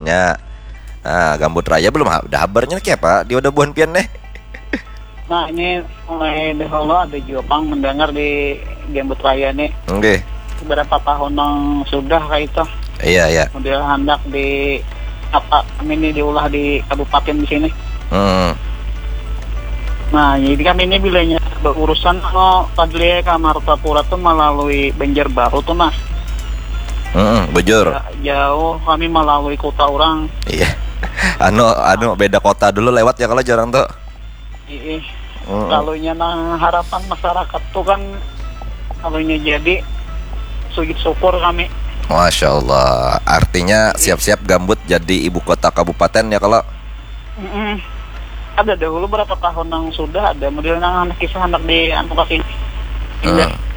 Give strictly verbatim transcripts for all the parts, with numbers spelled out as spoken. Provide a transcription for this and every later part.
Ya. Nah, Gambut Raya belum ha- ada habarnya nih apa? Di wadah buhan pian nih. Nah, ini mulai dahulu ada juga pang mendengar di Gambut Raya nih. Oke. Beberapa tahun yang sudah kayak itu. Iya, iya. Model hendak di apa kami ini diulah di kabupaten di sini. Hmm. Nah, jadi kami ini bilanya berurusan kalau Padli ke Martapura tuh melalui Banjarbaru tuh nah. Hmm, bujur. Jauh kami melalui kota orang. Iya. Anu anu beda kota dulu lewat ya kalau jarang tuh. Ih, Mm-mm. Kalunya nah harapan masyarakat tuh kan kalunya jadi sujud syukur kami. Masya Allah. Artinya siap-siap Gambut jadi ibu kota kabupaten ya kalau. Mm-mm. Ada dahulu berapa tahun yang sudah ada model nang anak kisah anak di anu ke sini. Indah. Hmm.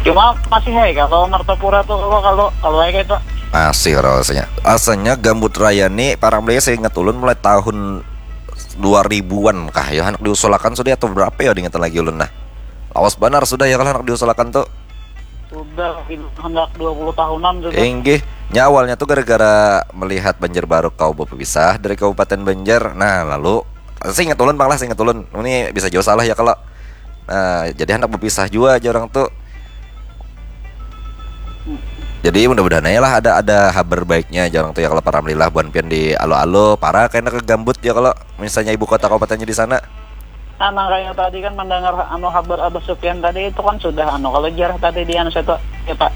Cuma masih hai kalau Martapura tuh kalau kalau kalau kayak itu. Masih rasanya. Rasanya Gambut Raya nih parang beli saya ingat ulun mulai tahun dua ribuan kah ya anak diusulakan sudah atau berapa ya diingetan lagi ulun nah. Lawas banar sudah ya kalau anak diusulakan tuh. Sudah gitu, hendak dua puluh tahunan sudah. Inggih, nya awalnya tuh gara-gara melihat Banjarbaru kau berpisah dari Kabupaten Banjar. Nah, lalu saya ingat ulun pang lah, saya ingat ulun. Ini bisa jauh salah ya kalau. Nah, jadi hendak berpisah juga aja orang tuh. Jadi mudah-mudahan aja lah ada ada habar baiknya aja orang tuh ya kalau para alhamdulillah buan pian di alo-alo para kena ke Gambut ya kalau misalnya ibu kota kabupatennya di sana. Nah, nang kayak tadi kan mendengar anu habar Abah Sufyan tadi itu kan sudah anu kalau jarah tadi di anu situ ya Pak.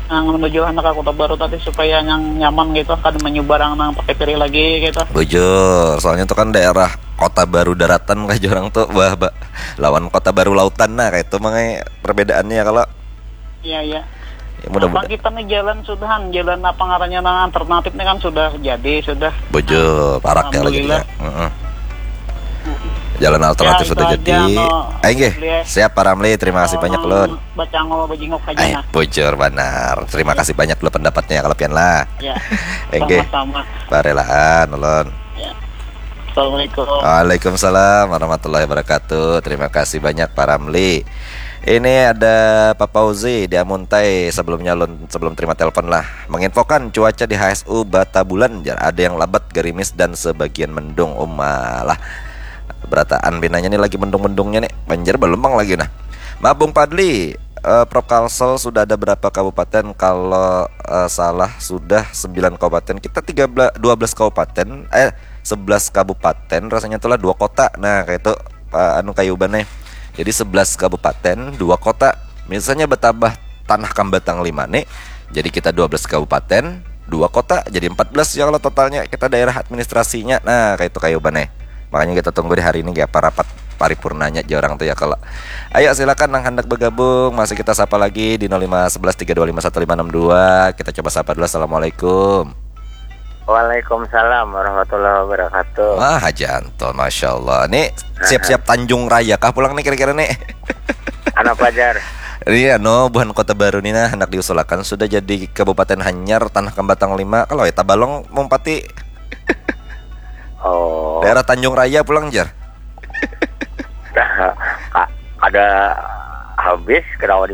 Nang menuju anak kota baru tadi supaya yang nyaman gitu kada menyubarang nang pakai piri lagi gitu. Bujur, soalnya itu kan daerah kota baru daratan kayak orang tuh bah, bah, lawan kota baru lautan nah kayak itu mangai perbedaannya kalau Iya iya. Ya, mudah-mudahan. Apa kita nih jalan sudahan jalan apa ngarannya nang alternatif nih kan sudah jadi sudah. Bujur, parak ya lagi Alhamdulillah. Ya. Heeh. Jalan alternatif Ya, sudah itu jadi. aja, no. Ayo nggih, Lihat. Siap para Mli, terima kasih banyak Nang Lun. Bacangol bajingok aja Eh, nah. Bujur banar. Terima kasih banyak dulu pendapatnya kalau pian lah. Ya. Enggih. Sama-sama. Parelaan Lun. Ya. Assalamualaikum. Waalaikumsalam warahmatullahi wabarakatuh. Terima kasih banyak para Mli. Ini ada Pak Fauzi di Amuntai sebelumnya Lun sebelum terima telepon lah. Menginfokan cuaca di H S U Bata Bulan jar ada yang labat gerimis dan sebagian mendung. Umalah. Berataan pinanya nih lagi mendung-mendungnya nih. Banjir belum bang lagi nah. Maaf Bung Padli, eh, Prof Kalsel sudah ada berapa kabupaten? Kalau eh, salah sudah sembilan kabupaten. Kita tiga belas dua belas kabupaten, eh sebelas kabupaten rasanya itulah dua kota. Nah, kayak itu Pak anu kayu banai. Jadi sebelas kabupaten, dua kota. Misalnya bertambah tanah Kambatang lima nih. Jadi kita dua belas kabupaten, dua kota, jadi empat belas ya kalau totalnya kita daerah administrasinya. Nah, kayak itu kayu banai. Makanya kita tunggu di hari ini ya apa rapat paripurnanya aja orang tuh ya kalau. Ayo silakan nang hendak bergabung, masih kita sapa lagi di nol lima sebelas tiga dua lima satu lima enam dua. Kita coba sapa dulu. Assalamualaikum. Waalaikumsalam warahmatullahi wabarakatuh. Wah, Haji Anton, Masya Allah. Ini siap-siap Tanjung Raya kah pulang nih kira-kira nih? Anak pelajar. Iya, no, buhan Kota Baru nih nah, hendak diusulakan sudah jadi Kabupaten Hanyar, Tanah Kambatang lima. Kalau kita balong mumpati Oh, daerah Tanjung Raya pulang jar. ka- ada habis kenapa di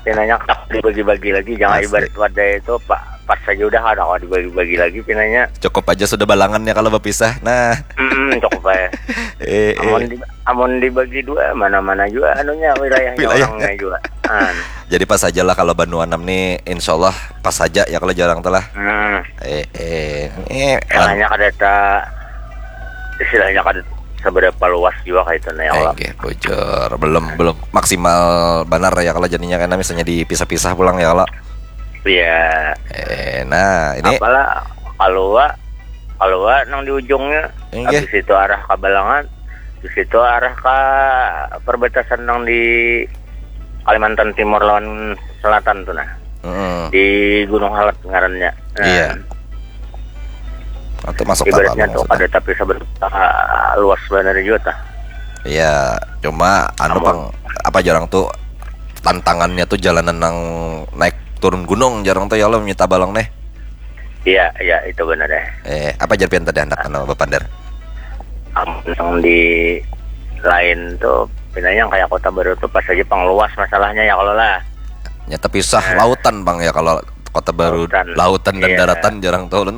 pinanya kenapa dibagi-bagi lagi, jangan Asli. Ibarat wadai itu pak pas saja udah ada kok dibagi-bagi lagi pinanya. Cukup aja sudah balangannya kalau berpisah. Nah, Hmm, cukup ya. eh, Amun eh. Di, amun dibagi dua mana-mana juga anunya wilayahnya Wilayahnya. Orangnya juga. An. Jadi pas aja lah kalau Banua enam nih, insya Allah pas aja ya kalau jarang telah. Hmm. Eh, eh, eh, Istilahnya kada ta istilahnya kada seberapa luas juga kayak itu nah ya Eh, Allah. Nggih, bujur. Belum belum maksimal benar ya kalau jadinya karena misalnya dipisah-pisah pulang ya kalau. Iya. Eh, nah ini Apalah kalau wa kalau wa nang di ujungnya Inggih. Habis itu arah Kabalangan, habis itu arah ke perbatasan nang di Kalimantan Timur lawan Selatan tuh nah. Mm-mm. Di Gunung Halat ngarannya. Nah, Iya. Atau masuk Ibaratnya Tabalong tuh maksudnya. Ada tapi sebenarnya luas benar juga tah. Iya, cuma anu Amun. Pang, apa jarang tuh tantangannya tuh jalanan nang naik turun gunung jarang tuh ya lo minta balong nih. Iya, iya itu benar ya. Eh, apa jar pian tadi anak anu bapander? Amun yang di lain tuh pinanya yang kayak Kota Baru tuh pas aja pang luas masalahnya ya kalau lah. Nya tepisah lautan Bang ya kalau Kota Baru lautan, Lautan. dan Iya. Daratan jarang tuh. Ulun